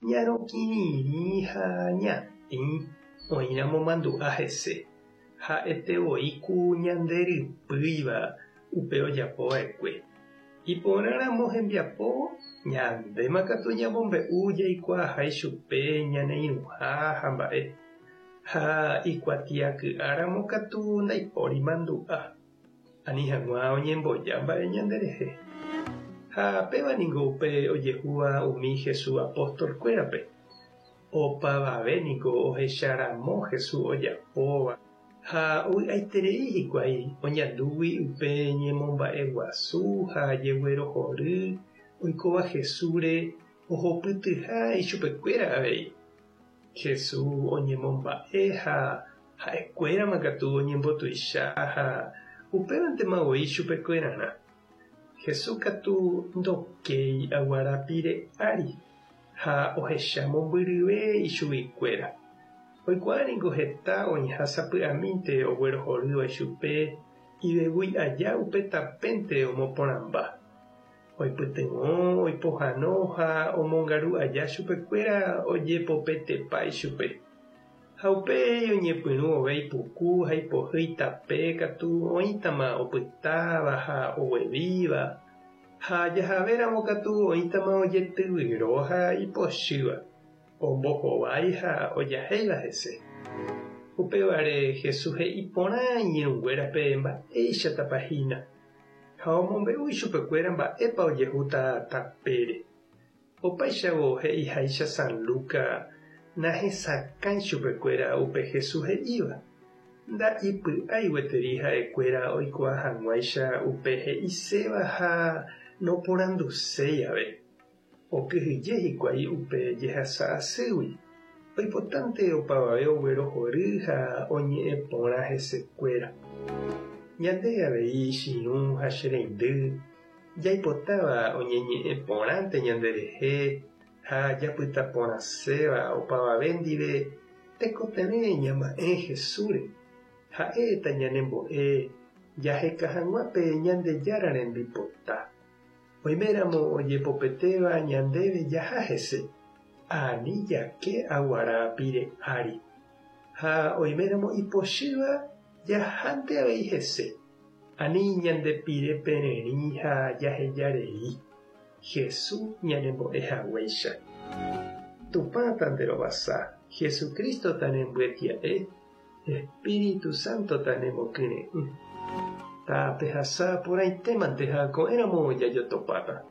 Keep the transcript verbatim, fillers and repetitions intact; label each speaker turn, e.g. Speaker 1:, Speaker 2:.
Speaker 1: Ñarokirirĩ ha ñatĩ oĩramo mandu'a hese. Ha'etevoi ku ñande rypýiva upe ojapova'ekue. Iporãramo hembiapo ñandéma katu ñamombe'u jaikuaaha ichupe ñane irũha ha mba'e. Ha ikuatiaky'áramo katu ndaipóri mandu'a. Ani hag̃ua oñemboja mba'e ñanderehe. Ha péva niko upe ojehúva umi Jesús apóstolkuérape. Opavave niko ohecharamo Jesús ojapóva ha ovy'aiterei hikuái oñandúgui upe ñemomba'eguasu ha jeguerohory oikóva Jesúsre ohopytyha ichupekuéra avei. Jesús oñemomba'e ha ha'ekuérama katu oñembotuicha ha upévantema voi chupekuerarã. Jesús katu ndokéi aguarapire ári ha ohecha mombyryve ichuguikuéra. Oikuaa niko heta oĩha sapy'amínte oguerohorýva ichupe ivevúi aja upe tapénte omoporãmba. Oipytyvõ, oipohãno ha omongaru aja chupekuéra ojepopetepa ichupe. Ha upéi oñepyrũ ove ipuku ha ipohýi tape katu oĩtama opytáva ha oguevíva ha jahavéramo katu oĩtama ojetyvyro ha ipochýva, ombohovái ha ojahéiva hese. Upévare Jesús he'i porã iñirũnguérape mba'éichatapa hína ha omombe'u ichupekuéra mba'épa ojehúta tapére. Opáichavo he'iháicha San Lucas nahesakãi chupekuéra upe Jesús he'íva. Nda'ipy'ái gueteri ha'ekuéra oikuaa hag̃uáicha upe he'iséva ha noporanduséi ave. Okyhyje hikuái upe jehasa asýgui. Oipotánte opavave oguerohory ha oñe'ẽ porã hesekuéra. Ñande avei chiru ha che reindy jaipotáva oñeñe'ẽ porãnte ñanderehe ha japyta porãséva opavave ndive tekotevẽ ñama'ẽ Jesúsre. Ha'éta ñanembo'e jaheka hag̃ua pe Ñandejára rembipota. Oiméramo ojepopetéva ñandéve jaha hese. Ani jake aguarapire ári. Ha oiméramo ipochýva jahánte avei hese. Ani ñandepire pererĩ ha jahejarei. Jesús ñanembo'e haguéicha. Tupã tanderovasa, Jesucristo tanembyetia'e, Espíritu Santo tanemokyre'ỹ. Tapehasa porãitémante ha ko'ẽramo jajotopáta.